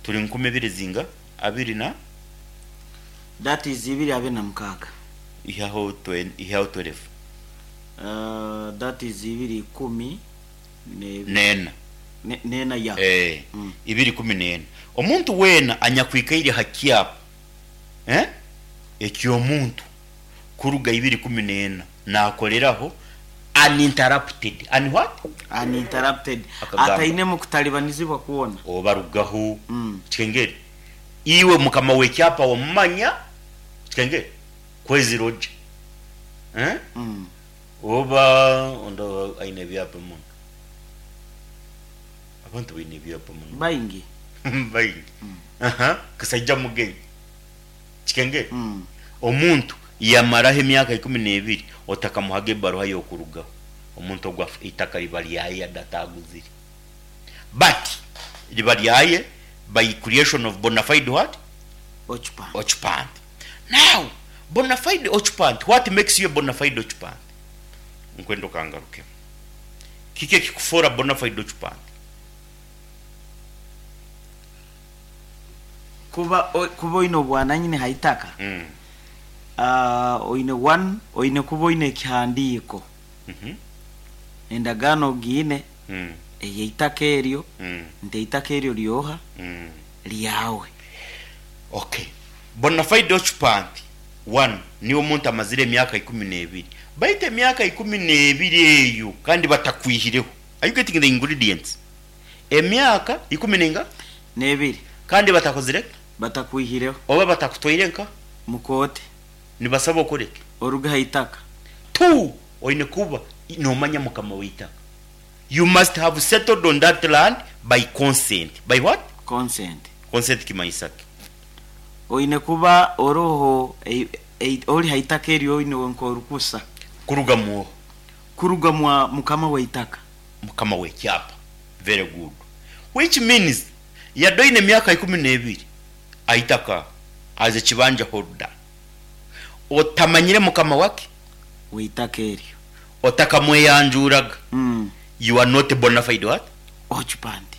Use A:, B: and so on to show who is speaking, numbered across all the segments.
A: Turi 2000 zinga? Abiri na.
B: That is 2026.
A: Ihaho twe, ihaho twerefu.
B: That is ibiri ikumi n'ebiri.
A: N'ena.
B: N'ena ya.
A: Ee, 2014. Omuntu weena anyakwikaire ha kyapa, eh, eky'omuntu kuruga 2014 naakoleraho uninterrupted, un what?
B: Uninterrupted,
A: Akagamba.
B: Atainemu kutalibanizibwa kwona.
A: Obarugaho. Kikengeri, iwe mukama w'ekyapa wamumanya, kikengeri, kwezi roja, eh? Oba ondi aine ebyapa muno. Abantu baine ebyapa muno.
B: Baingi.
A: Baingi. Aha, kasaija mugenyi. Kikengeri, omuntu yamaraho emyaka 12 otakamuhaga ebaruha y'okurugaho, omuntu ogu afa eitaka riba ryaye yade ataguzire. But riba ryaye by creation of bonafide what?
B: Occupant.
A: Occupant. Now, bonafide occupant, what makes you a bonafide occupant? Nkwenda okangarukemu. Kiki ekikufoora bonafide occupant?
B: Kuba kuba oine obwananyini ha itaka, oine one, oine kuba oine ekihandiiko, endagaano ogiine ey'eitaka eryo, nti eitaka eryo ryoha? Ryawe.
A: Okay. Bonafide occupant, one, niiwe omuntu amazire emyaka 12. Baitu emyaka 12 eyo kandi batakwihireho. Are you getting the ingredients? Emyaka ikumi n'enga?
B: N'ebiri.
A: Kandi batakozire ki?
B: Batakwihireho.
A: Oba batakutwaire nka?
B: Mu kooti.
A: Nibasaba okore ki?
B: Oruge ha itaka.
A: Two, oine kuba noomanya mukama w'eitaka. You must have settled on that land by consent. By what?
B: Consent.
A: Consent kimanyisa ki?
B: Oine kuba oroho ori ha itaka eryo oine nk'orukusa.
A: Kuruga mu oha?
B: Kuruga mwa mukama w'eitaka.
A: Mukama w'ekyapa. Very good. Which means yade oine emyaka 12 aitaka as a kibanja holder otamanyire mukama waki?
B: W'eitaka eryo.
A: Otakamweyanjuuraga, you are not a bonafide what?
B: Occupant.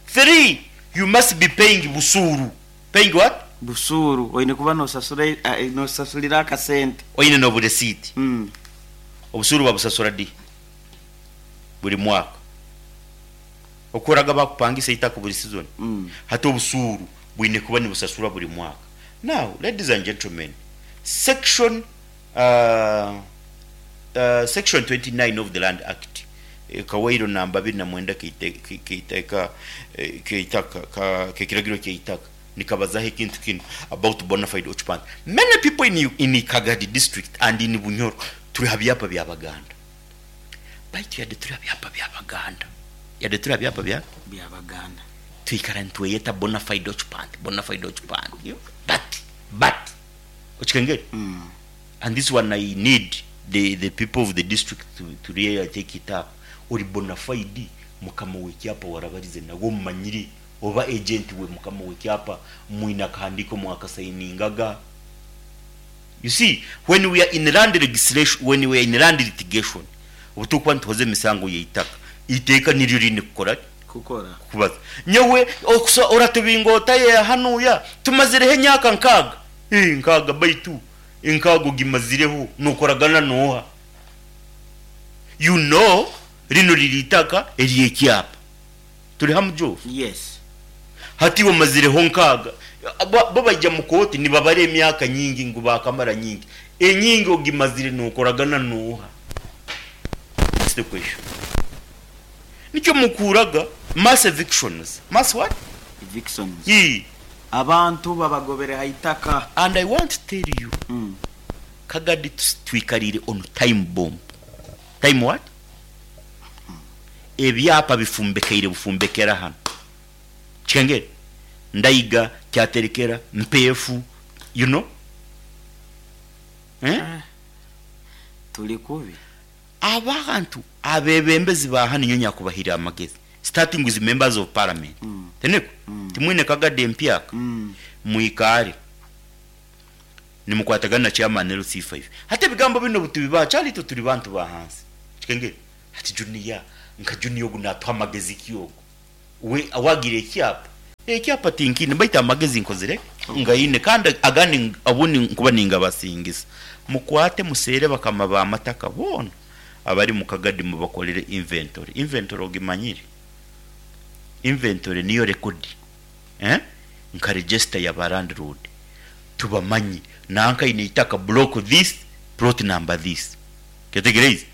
A: Three, you must be paying busuuru. Paying what?
B: Busuuru. Oine kuba nosasura nosasurira akasente.
A: Oine n'oburesiiti. Obusuuru babusasura di? Buri mwaka. Okoraga bakupangisa eitaka buri season. Hati obusuuru bwine kuba nibusasurwa buri mwaka. Now, ladies and gentlemen, section section 29 of the Land Act, kawairo namba 29 keitaka kekiragiro kyeitaka nikabazaho ekintu kinu about bonafide occupant. Many people in in Kagadi district and in Bunyoro turi ha byapa bya Baganda. Baitu yade turi ha byapa bya Baganda, yade turi ha byapa bya
B: Bya Baganda.
A: Twikara nitweyeta bonafide occupant, bonafide occupant. But, but, okikengere? And this one I need the, the people of the district to, to really take it up. Ori bonafide mukama w'ekyapa warabarize nawe omumanyire oba agent we mukama w'ekyapa mwine akahandiiko mwakasayiningaga. You see, when we are in land legislation, when we are in land litigation, obu turikuba nituhoza emisango y'eitaka, eiteeka niryo riine kukora ki?
B: Kukora.
A: Kukubaza. Nyowe okusa oratubinga ota ye hanuya? Tumazireho emyaka nkaaga. Ii, nkaaga baitu enkaaga ogimazireho nokoragana n'oha? You know, rinu riri eitaka ery'ekyapa. Turi hamu Geoff?
B: Yes.
A: Hati iwe omazireho nkaaga. Bo bo baija mu kooti nibabara emyaka nyingi ngu baakamara nyingi. Enyingi ogimazire nokoragana n'oha? That's the question. Nikyo mukuuraga mass evictions. Mass what?
B: Evictions.
A: Ii.
B: Abantu babagobere ha itaka.
A: And I want to tell you, Kagadi twikariire on time bomb. Time what? Ebyapa bifumbekaire bufumbekera hanu. Kikengeri? Ndaiga, Kyaterekera, Mpeefu, you know? Eh?
B: Turi kubi.
A: Abantu abebembezi ba hanu nyowe nyakubahire amagezi starting with members of parliament tiniko? Timwine kagadi empyaka? Mwikaare nimukwatagana na chairman LC5. Hati ebigambo binu obutubibaha kyali itwe turi bantu ba hansi. Kikengeri? Hati Junior nka Junior ogu natuha amagezi ki ogu? We awagira ekyapa? Ekyapa tinkiine baitu amagezi nkozire ngaine kandi agandi obundi nkuba ningabasingisa. Mukwate museere bakama b'amataka boona abari mu Kagadi mubakorere inventory. Inventory ogimanyire? Inventory niyo rekodi eh nka register ya ba landlord tubamanye nanka aine eitaka block this, plot number this. Kyetegereize?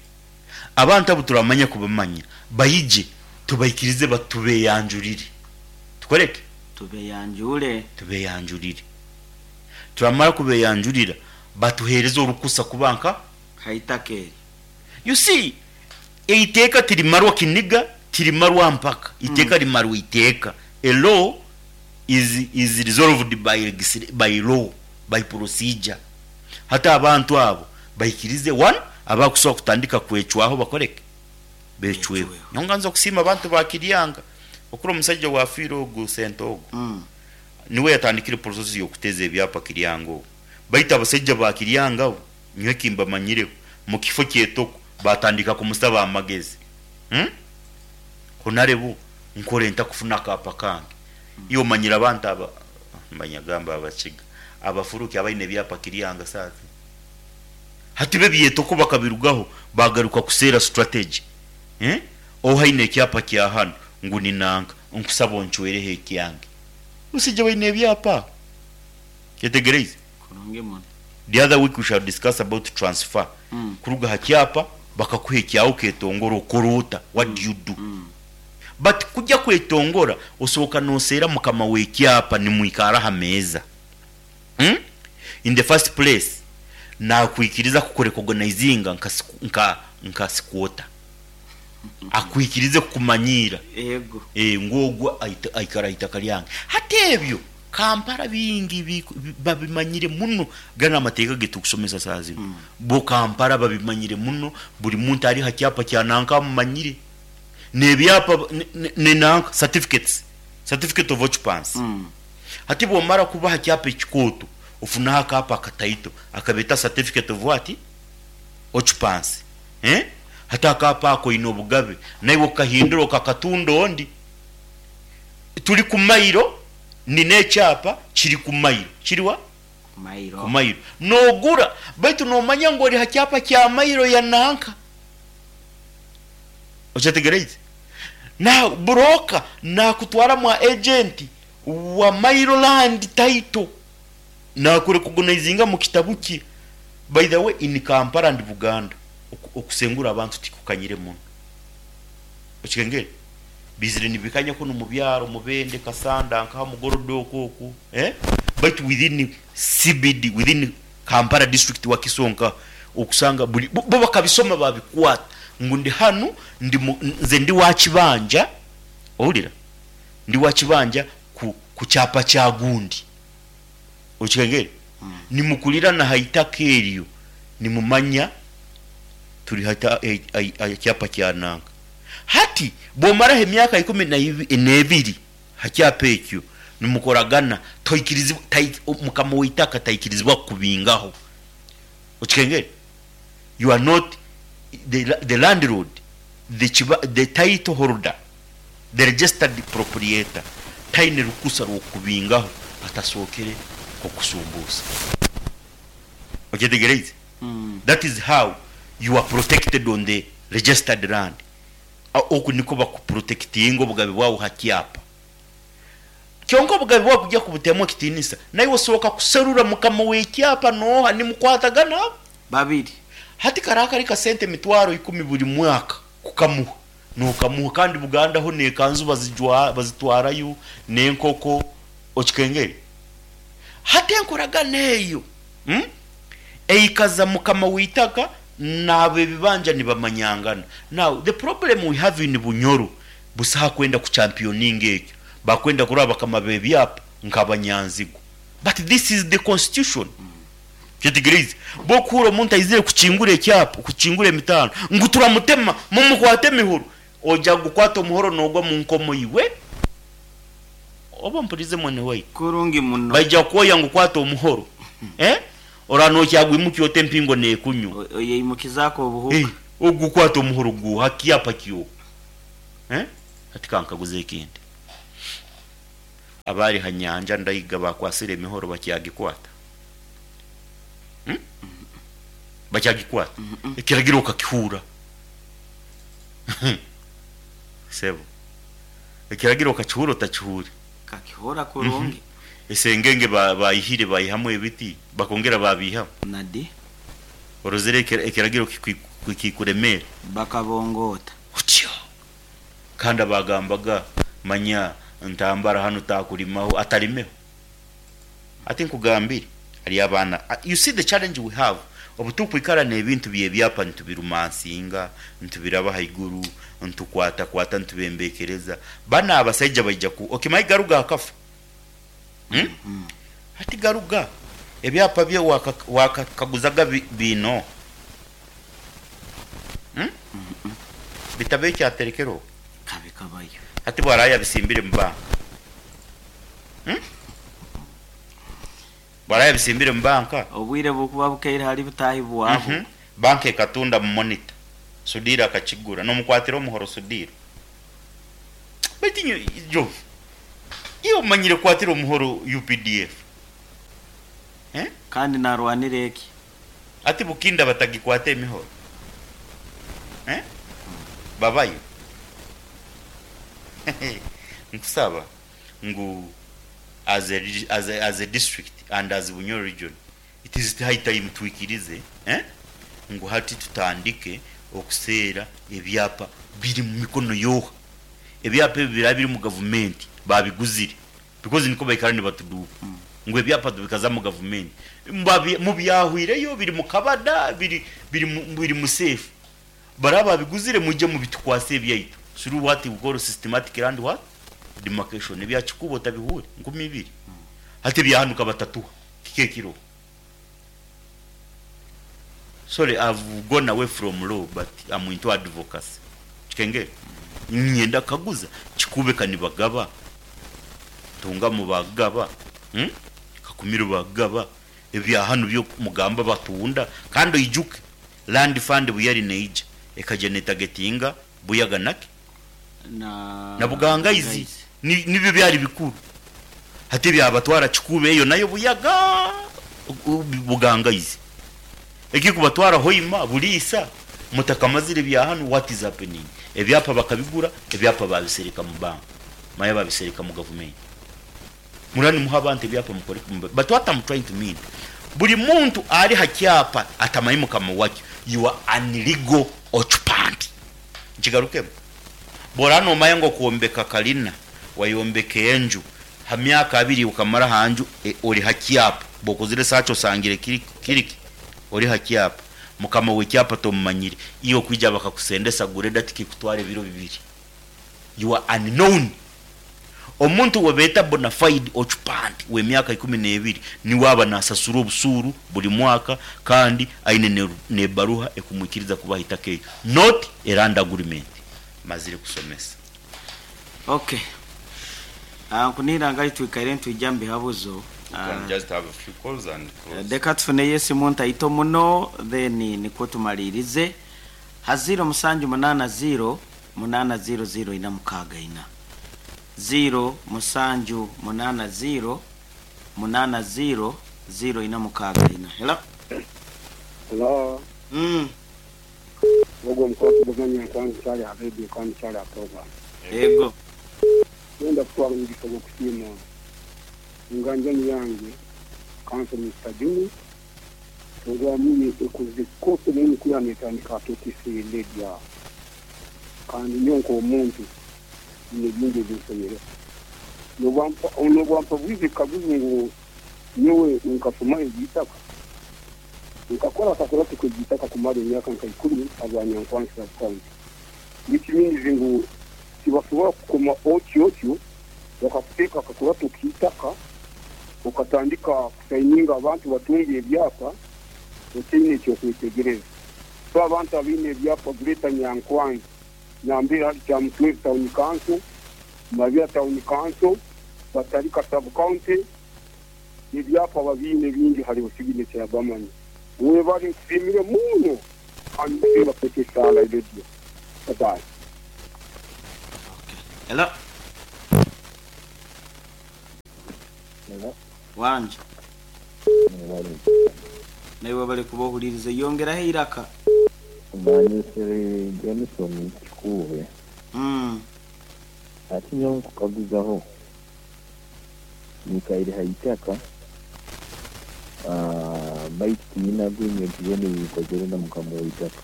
A: Abantu abu turamanya kubamanya baije tubaikirize batubeyanjurire. Tukore ki?
B: Tubeyanjure.
A: Tubeyanjurire. Turamara kubeyanjurira batuhereze orukusa kuba nka.
B: Ha itaka eryo.
A: You see, eiteeka tirimarwa kiniga, tirimarwa mpaka. Eiteeka rimarwa iteeka. A law is is resolved by by law, by procedure. Hati abantu abo baikirize one, abakusobola kutandika kwecwaho bakore ki? Becweho. Nyowe nganza okusiima abantu ba Kiryanga, okuri omusaija owafiire ogu Sente ogu, niwe yatandikire process yokuteza ebyapa Kiryanga ogu. Baitu abasaija ba Kiryanga bo, nyowe ekimbamanyireho, mukifo kyetoko batandika kumusaba amagezi. Honarebu nkore nta kufuna akaapa kange? Iwe omanyire abantu aba, mbanyagamba Abakiga, abafuruki abaine ebyapa Kiryanga saaha zinu. Hati bo ebyetoko bakabirugaho bagaruka kuseera strategy. Oha aine ekyapa kya hanu ngu ni nanka, nkusaba oncwereho ekyange. Omusaija baine ebyapa. Kyetegereize?
B: Kurungi muno.
A: The other week we shall discuss about transfer. Kuruga ha kyapa bakakuha ekyawe oketongora okora ota? What do you do? But kugya kwetongora osooka noseera mukama w'ekyapa nimwikara aha meeza. In the first place nakwikiriza kukurecognizinga nka nka nka squatter. Akwikirize kukumanyiira
B: Ego.
A: ngu ogu aikara aha itaka ryange. Hati ebyo Kampala bingi babimanyire muno, ganu amateeka agu turikusomesa saaha zinu. Bo Kampala babimanyire muno, buri muntu ari aha kyapa kya nanka amumanyire. N'ebyapa ni nanka certificates, certificate of occupancy. Hati bwomara kuba aha kyapa ekikooto, ofunaho akaapa akataito akabeeta certificate of what? Occupancy. Hati akaapa ako oine obugabe naiwe okukahindura okakatunda ondi. Turi ku mailo, nina ekyapa kiri ku mailo. Kiri wa?
B: Ku mailo.
A: Ku mailo. Noogura, baitu noomanya ngu ori ha kyapa kya mailo ya nanka. Okyetegereize? Na burooka naakutwara mwa agenti wa Mailo Land Title. Naakurekogonaizinga mu kitabu kye. By the way, in Kampala and Buganda, okusengura abantu tikukanyire muno. Okikengere? Bizire nibikanya kunu mu byaro, Mubende, Kasanda, nkaha Mugorodo okwo okwo, eh? Baitu within CBD, within Kampala district Wakiso nkaha, okusanga buri, bo bakabisoma babikwata ngu ndi hanu, ndi mu, nze ndi wa kibanja, ohurira? Ndi wa kibanja ku, ku kyapa kya gundi. Okikengere? Nimukurirana aha itaka eryo, nimumanya turi ha, aha kyapa kya nanka. Hati bwomaraho emyaka ikumi n'ebiri ha kyapa ekyo nimukoragana, toikirizibwa, mukama w'eitaka taikirizibwa kukubingaho. Okikengere? You are not the landlord, the title holder, the registered proprietor taine rukusa rw'okukubingaho atasookere kukusumbuusa. Okyetegereize? That is how you are protected on the registered land. Oku nikwo bakuprotekitinga obugabe bwawe ha kyapa. Kyonka obugabe bwawe kugya kubutemu ekitiinisa, naiwe osooka kuserura mukama w'ekyapa nooha, nimukwatagana abo?
B: Babiri.
A: Hati kari akari kasente emitwaro ikumi buri mwaka kukamuha, nokamuha kandi Buganda ho n'ekanzu bazitwarayo, n'enkoko, okikengere? Hati enkoragana eyo eikaza mukama w'eitaka n'ab'ebibanja nibamanyangana. Now the problem we have in Bunyoro, busaho akwenda ku championinga ekyo, bakwenda kurora bakama b'ebyapa nk'abanyanzigwa. But this is the constitution. Kyetegereize? Bw'okuhurra omuntu aizire kukingura ekyapa, kukingura emitaano, ngu turamutema, mumukwate emihoro, oija kugukwata omuhoro noogwa mu nkomo iwe. Oba ompuriize mwene waitu?
B: Kurungi muno.
A: Baija kukwoya ngu kwata omuhoro. Eh? Oraba nokyagwimukya ota empingo nekunywa.
B: Oyeimukizaku obuhuka.
A: Eh, ogukwata omuhoro guuha kyapa kyoha. Eh? Hati kankaguze ekindi. Abari ha nyanja ndaiga bakwasire emihoro bakyagikwata? Hmm? Bakyagikwata? Ekiragiro okakihura. Sebo. Ekiragiro okakihura otakihure.
B: Kakihura kurungi.
A: Esengenge bayihire bayihamu ebiti bakongera babihamu.
B: Nadi.
A: Orozere ekiragiro kikuremera.
B: Bakabongota.
A: Otyo. Kandi abagambaga manya ntambara hanu takulimaho atalimeho. Ati nkugambire hari abaana, you see the challenge we have, obu tukwikara n'ebintu by'ebyapa nitubirumansinga, nitubiraba haiguru, nitukwatakwata nitubembekereza, banu abasaija baija ku okimanyi Garuga akafa? Hmm? Hati Garuga ebyapa bye wakakaguzaga biine oha? Hmm? Bitabo eki aterekere oku?
B: Kabi kabayo.
A: Hati bwaraaba yabisimbire mu banka? Hmm? Bwaraaba yabisimbire mu banka?
B: Obwire bukuba bukeire hali butahi bwaho.
A: Banka ekatunda mu monitor. Sudhir akakigura. Nomukwatira omuhoro Sudhir. Baitu inywe Jove, iwe omanyire kukwatira omuhoro UPDF? Eh?
B: Kandi narwanira eki?
A: Ati Bukinda batagikwata emihoro? Eh? Babayo. Nkusaba ngu as a, as a, as a district and as Bunyoro region, it is high time twikirize, eh? Ngu hati tutandike okuseera ebyapa biri mu mikono yoha. Ebyapa ebi biraba biri mu gavumenti babiguzire because niko baikara nibatuduuka ngu ebyapa tubikaza mu gavumenti. Mubyahwireyo biri mu kabada, biri, biri, biri mu safe. Baraba babiguzire mwije mubitukwase ebyaitu. Through what we call systematic land what? Demarcation. Ebya Kikuubo otabihuure, 2000. Hati ebyahanuka batatuha. Kiki ekiriho? Sorry, I've gone away from law, but I'm into advocacy. Kikengere? Niinyenda kukaguza, Kikuube ka nibagaba, Ntungamo bagaba, Kakumiro bagaba, ebya hanu byo mugamba batunda, kandi oijuke, Land Fund buyari neija, ekaija netagetinga Buyaga naki? Na Bugangaizi. Nibyo byari bikuru. Hati ebyabatwara Kikuube eyo nayo Buyaga, Bugangaizi. Ekirikubatwara Hoima, Buliisa, mutakamazire ebya hanu, what is happening? Ebyapa bakabigura, ebyapa babisereka mu bank, manya babisereka mu gavumenti. Muraba nimuha abantu ebyapa mukore ki? But what am trying to mean, buri muntu ari ha kyapa atamanyi mukama wakyo, you are an illegal occupant. Nkigarukemu, bworaba nomanya ngu okwombeka kalina, wayombeka enju, ha myaka abiri okamara ha nju ori ha kyapa, bwokozire search osangire kiri ki? Ori ha kyapa, mukama w'ekyapa tomumanyire, iwe kwija bakakusendesa greda tikikutwara ebiro bibiri. You are unknown. Omuntu ou beeta bonafide occupant w'emyaka 12 niwe aba naasasura obusuuru buri mwaka kandi aine n'ebaruha ekumwikiriza kuba aha itaka eryo, not a land agreement. Mazire kusomesa.
B: Ok. Nkunihira ngu twikaire nitwija mu bihabuzo.
C: We can just have a few calls and close.
B: Reka tufuneyo esimu ntaito muno then nikwo tumariirize. Ha ziiro musanju munaana ziiro munaana ziiro ziiro ina mukaaga ina. Ziiro musanju munaana ziiro munaana ziiro ziiro ina mukaaga ina. Hello.
D: Hello. Ogwo omukwasi gumanya nkwani kyali aha radio kandi kyali aha program.
B: Ego.
D: Nenda kutwara omugisa gw'okusiima enganjani yangye Counsel Mister Jimmy program ye ekoze course nene kwiha netandika aha KTC Radio aho. Kandi nyowe nk'omuntu nyine bingi ebi nsomireho. N'obu ampabwize ekikaguzo ngu nyowe nkasomaho eby'eitaka, nkakora akakurato k'eby'eitaka kumara emyaka nka ikumi habwa Nyankwanzi Sub-County. Which means ngu tibasobora kukoma otyo otyo bakakuteeka akakurato k'eitaka okatandika kusayininga abantu batunge ebyapa otaine eky'okwetegereza. So abantu abaine ebyapa Greater Nyankwanzi nambere hali Kyamutwezi Town Council, Mabira Town Council, Batalika Sub County, ebyapa babiine bingi hariho signature ya Bamanya. Webale nkusiimire muno kandi nkusiima KTSR Radio. Bye bye.
B: Hello. Wangi. Naiwe webale kuba ohuriirize. Yongeraho eiraka.
E: Manyisire Johnson Kikuube. Hati nyowe nkukaguzaho, nyikaire ha itaka baitu tinyine agreement yoona ei nkozere na mukama w'itaka.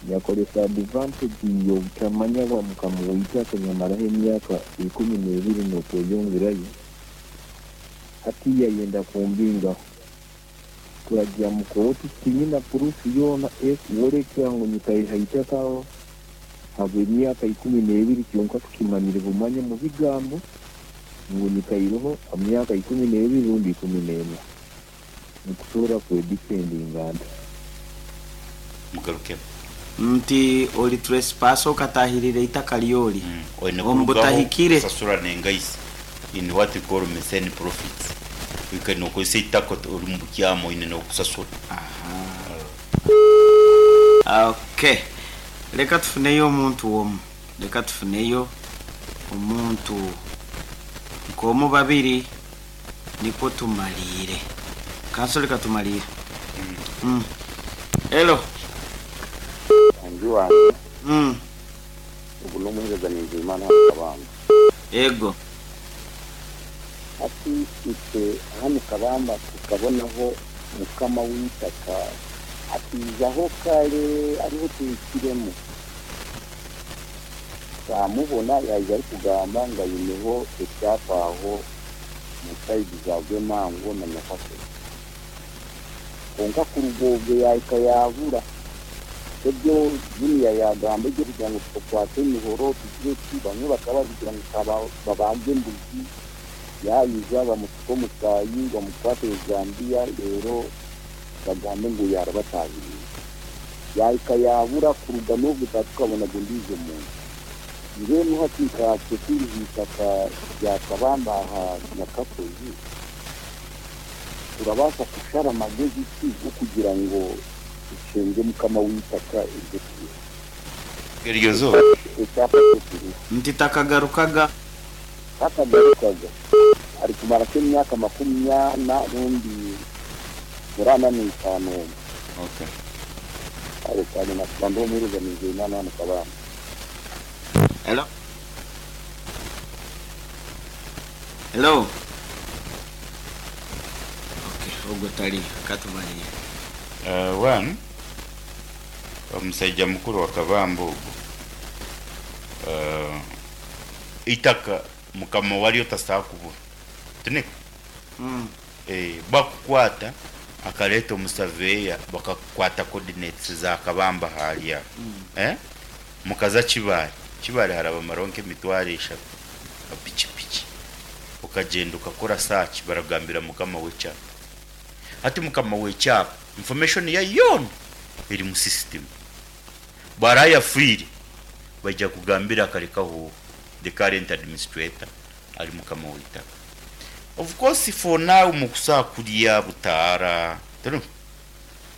E: Nyakozesa advantage y'obutamanya bwa mukama w'itaka nyamaraho emyaka 12 n'okweyongerayo, hati yayenda kumbingaho. Turagya mu kooti tinyina proof yoona ekworeka ngu nyikaire ha itaka aho habw'emyaka 12 kyonka tukimanyire bumanye omu bigambo ngu nyikaireho emyaka 12 rundi 14. Nikusobora kwedifendinga nta?
A: Mugarukemu.
B: Nti ori trespass okatahirira eitaka ry'ori
A: Oine
B: omu
A: kurugaho
B: butahikire.
A: kusasura n'engaisi in what we call methane profits. Oikaire nokozesa eitaka ori omu bukyama oine n'okusasura.
B: Okay. Leka tufuneyo omuntu omu. Leka tufuneyo omuntu nk'omu babiri nikwo tumaliire. Kanso leka tumaliire. Hello.
D: Muhangi wangye, ogu n'omuheereza Nizeyimana hanu Kabamba.
B: Ego.
D: Hati itwe hanu Kabamba tukabonaho mukama w'eitaka akaijaho kare ariho tuhikiremu. Twamubona yaija arikugamba ngu aineho ekyapa aho omu sayidi za Rwemango na Nyakasere. Kwonka kuruga obwo yaahika yaabura. Ebyo Junior yaagamba eby'okugira ngu tukwate emihoro tugire ki, bamwe bakaba barikugira ngu ka babaage embuzi, yaija bamufuke omusaayi bamukwate ezambiya reero bagambe ngu yaarabatahiriire. Yaahika yaabura kuruga n'obwo taatukabona ondiijo muntu. Mbwenu hati nkatwe turi aha itaka rya Kabamba aha Nyakashozi, turabaasa kushara magezi ki g'okugira ngu tushenge mukama w'eitaka eryo turiho?
A: Eryo zooba.
D: Ekyapa kye kiriho.
B: Nti takagarukaga.
D: Takagarukaga. Arikumara nk'emyaka 40 rundi muri 45 omwo.
C: Okay.
D: Kare kare nakuba ndi omuheereza Nizeyimana hanu Kabamba.
B: Hello. Hello. Okay, ogwo tariyo. Katumariire.
C: One, omusaija mukuru wa Kabamba ogwo,
A: Eitaka mukama waryo tasobola kubura. Tiniko? Bakukwata akareeta omusaveya bakakukwata coordinates za Kabamba ahari aho. Mukaza Kibaale, Kibaale harabamaraho nk'emitwaro 3 ha pikipiki. Okagyenda okakora search baragambira mukama w'ekyapa. Hati mukama w'ekyapa information ye yoona eri mu system. Bwaraaba yafiire baija kugambira akarekaho the current administrator ari mukama w'eitaka. Of course for now mukusobola kurya butaara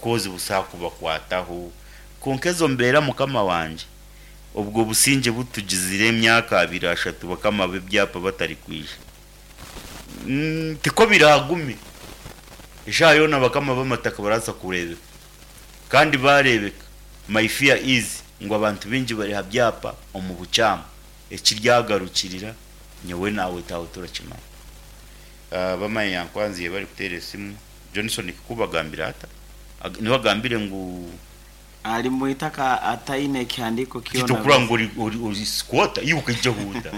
A: kozi busobola kubakwataho kwonka ezo mbeera mukama wangye obwo busingye butugizire emyaka 2 3 bakama b'ebyapa batarikwija. Tiko biragume. Eshaaha yoona bakama b'amataka barabaasa kureebeka. Kandi baareebeka my fear is ngu abantu baingi bari ha byapa omu bukyama. Ekiryagarukirira nyowe naawe taawe turakimanya. Bamanya yankwanziire barikuteera esimu Johnson kikubagambira ata? Niwe agambire ngu
B: Ari mu itaka ataine ekihandiiko kyona.
A: Titokura ngu ori squatter iwe okaija huuta.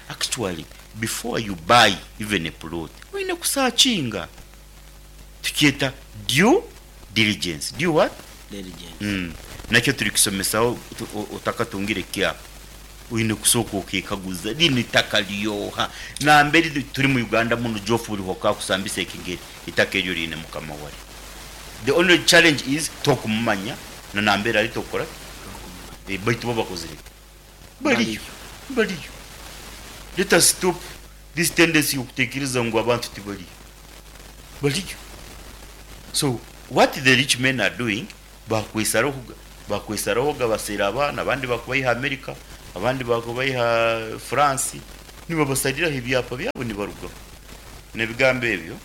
A: Actually before you buy even a plot oine kusakinga. Tukyeta due diligence. Due what?
B: Diligence.
A: Nakyo turikusomesaho otakatungire kyapa. Oine kusooka okekaguza rinu itaka ryoha? Nambere turi mu Uganda munu Geoff buri hokakusambisa ekigere itaka eryo riine mukama waryo. The only challenge is tokumumanya na nambere ari tokukora ki? Baitu bo bakozire ki? Bariyo. Bariyo. Let us stop this tendency y'okutekereza ngu abantu tibariyo. Bariyo. So what the rich men are doing, bakwesarahoga, bakwesarahoga baseera abaana, abandi bakubaiha America, abandi bakubaiha France, nibabasariraho ebyapa byabo nibarugaho.
C: N'ebigambo ebyo,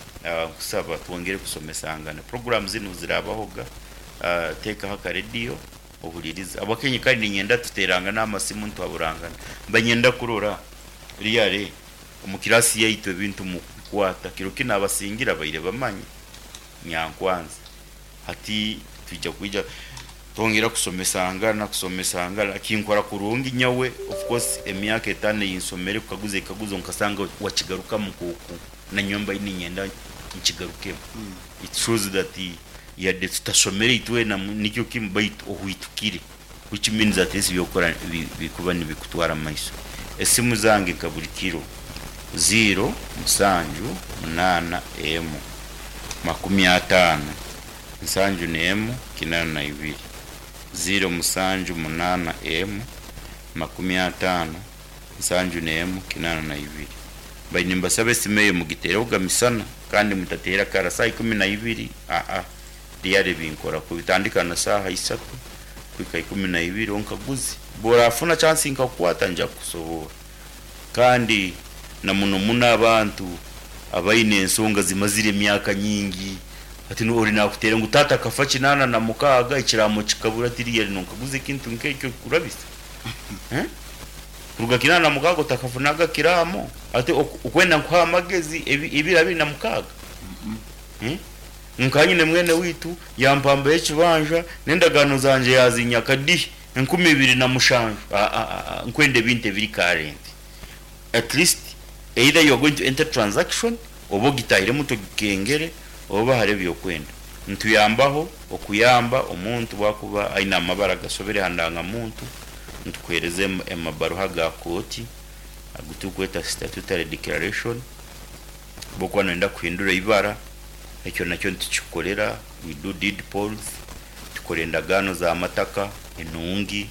C: nkusaba twongere kusomesangana. Puroguraamu zinu ziraabahoga, teekaho akarediyo ohuririze. Ahabw'akenyi kare niinyenda tuteerangane aha masimu nituhaburangana. Mba niinyenda kurora really omu kiraasi yaitu ebintu mukubikwata. Kiro ki naabasingira baire bamanya nyankwanza. Hati twija kwija twongera kusomesangana, kusomesangana. Kinkora kurungi nyowe, of course emyaka etaano ei nsomere kukaguza ekikaguzo nkasanga wakigarukamu nk'oku nanyowe mbaire niinyenda nkigarukemu. It shows that yadde tutasomere itwena nikyo kimwe baitu ohwitukire which means at least ebyokukora bikuba nibikutwara mumaiso. Esimu zange nka buri kiro, ziiro musanju munaana emu 50 71 82, ziiro musanju munaana emu 50 71 82. Mbaire nimbasaba esimu eyo mugiteerehoga misana kandi mutateera kara saaha 12 aa really binkora kubi tandika na saaha isatu kuhika 12 onkaguze bworafuna chance nkakukwata nja kukusoboora kandi na muno muno abantu abaine ensonga zimazire emyaka nyingi hati ori nakuteera ngu taata akafa 86 ekiraamo kikabura ati really nonkaguza ekintu nkekyo kurabisa eh. Kuruga 86 otakafunaga kiraamo ate okwenda nkuhe amagezi ebiro 26? Nka nyine mwene waitu yampambaho ekibanja n'endagaano zangye yazinyaka di 2007 aa nkwenda ebintu ebiri current at least either you are going to enter transaction oba ogitahiremu togikengere oba hariho ebyokwenda. Nituyambaho okuyamba omuntu bwakuba aine amabara agasobire aha ndangamuntu, nitukuhereza emabaruha ga kooti agu turikweta statutory declaration, bwokuba noyenda kuhindura eibara, ekyo nakyo nitukikukorera, we do deed polls, tukora endagaano za mataka enungi,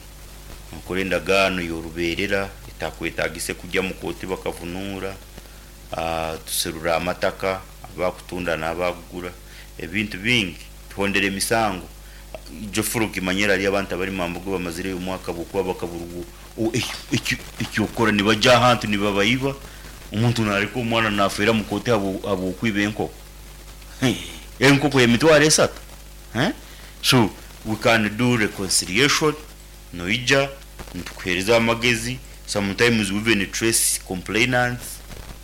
C: nokora endagaano yoruberera etakwetagise kugya omu kooti bakavunuura. Tuserura amataka, abakutunda n'abakugura, ebintu bingi. Tuhondera emisango. Ijo furo okimanyire hariyo abantu abari Mambugu bamazireyo omwaka habw'okuba bakaburwa eky'okukora nibagya ahantu nibabaiba. Omuntu nareka omwana nafeera mu kooti habw'okwiba enkoko. Enkoko y'emitwaro esatu? So we can do reconciliation, noija nitukuhereza amagezi, sometimes we even trace complainants,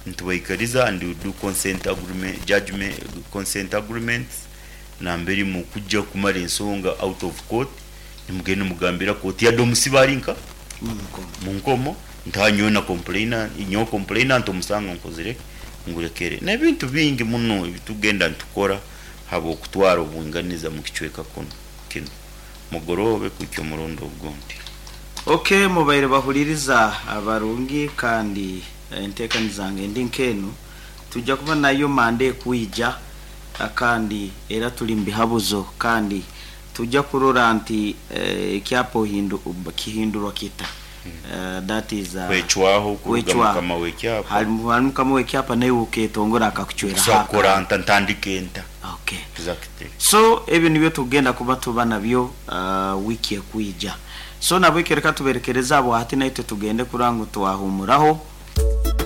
C: nitubaikariza and we do consent agreement, judgement, consent agreements nambere mukujja kumara ensonga out of court, nimugenda nimugambira kooti yade omusibe ari nka munkomo nti haa nyowe na complainant, nyowe complainant omusango nkozire ki, ngurekere. Nebintu bingi muno ebitugenda nitukora habwokutwara obwinganiza mukicweka kunu kinu. Mugoroobe kuhikya omurundi ogundi.
B: Ok mubaire bahuririza barungi kandi entekaniza zange endi nk'enu tujja kuba nayo mande ekwija kandi era turi mubihabuzo kandi tujja kurora nti ekyapa kihindurwa kita that is
C: Kwecwaho kuruga
B: kwecwaho
C: mukama w'ekyapa.
B: Hari mukama w'ekyapa naiwe oketongora akakucweraho
C: Nkusobora kukora
B: akandi.
C: nta ntandike nta?
B: Okay.
C: Exactly.
B: So ebyo nibyo tukugenda kuba tuba nabyo wiiki ekwija. So nabwekyo reka tuberekereze abo hati naitwe tugende kurora ngu twahumuraho.